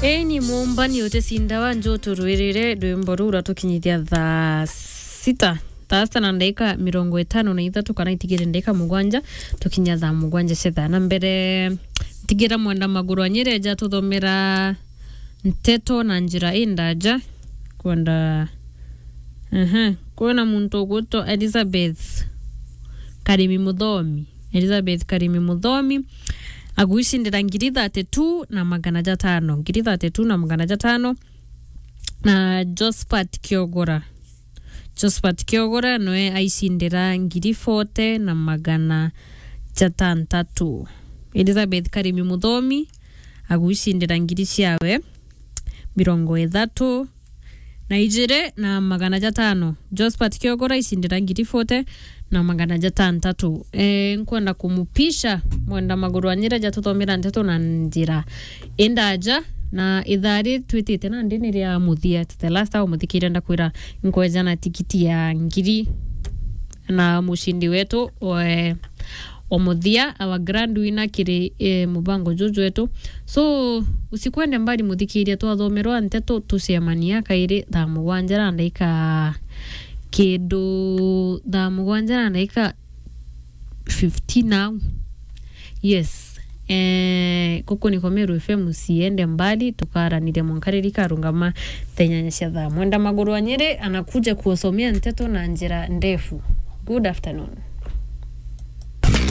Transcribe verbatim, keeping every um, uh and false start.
Eni mumbani uticinda wa njo turwirire rwimbo ruu rwatukinyithia thaa sita, thaa sita na ndagika mirongo itano na ithatu, kana itigire ndagika mugwanja tukinya thaa mugwanja cia thaa na mbere. Ntigira Mwenda Maguru Anyiri eja tuthomera nteto na njira indaja. Kwenda, aha, kwina muntu ugwitwa Elizabeth Karimi Muthomi. Elizabeth Karimi Muthomi agwicindira ngiri thirty-two na magana jatano, ngiri thirty-two na magana jatano. Na Josephat Kiogora, Josephat Kiogora noe aicindira ngiri forty na magana jatantatu. Elizabeth Karimi Muthomi agwicindira ngiri ciawe mirongo ithatu na ijiri na magana jatano. Josephat Kiogora aicindira ngiri forty na magana jatantatu. E, nkwenda kumupisha Mwenda Maguru Anyiri eja tuthomera nteto na njira indaja, na ithaa ri twitite nandi ni ria muthia, the last hour, muthikiria, ndakwira nkweja na tikiti ya ngiri na mucindi wetu we wa muthia, our grand winner kiri, eh, mubango juju wetu. So, usikwende mbali muthikiria, twathomerwa nteto tucemania kairi thaa mugwanja na ndaika kindu thaa mugwanja na ndaika fifteen au. Yes. Eh, kuku niko Meru F M, usiende mbali, tukaraniria mwanka riria ikarungama thaa inyanya cia thaa. Mwenda Maguru Anyiri anakuja kuwasomea nteto na njira ndefu. Good afternoon.